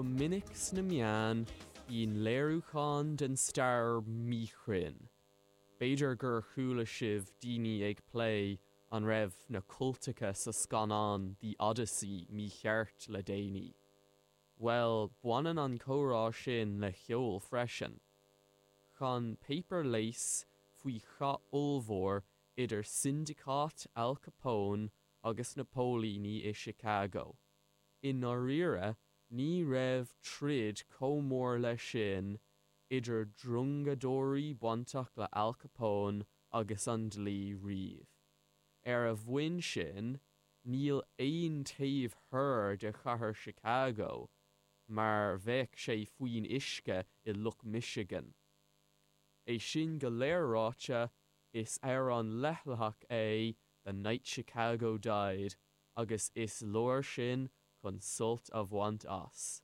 Go minic sna meáin, bíonn léiriúchán den stair míchruinn. B'fhéidir gur chuala sibh daoine ag plé an raibh na cultacha sa scannán The Odyssey mícheart le déanaí. Bhuel, baineann an comhrá sin le ceol freisin. Chan Paper Lace faoi chath ollmhór idir sindeacáit Al Capone agus na póilíní i Chicago. I ndáiríre, ní raibh troid chomh mór leis sin idir drongadóirí bainteach le Al Capone agus an dlí riamh. Ar a bhonn sin, níl aon taobh thoir de chathair Chicago mar bheadh sé faoin uisce i Loch Michigan. É sin go léir ráite, is amhrán leithleach é The Night Chicago Died agus is leor sin chun sult a bhaint as.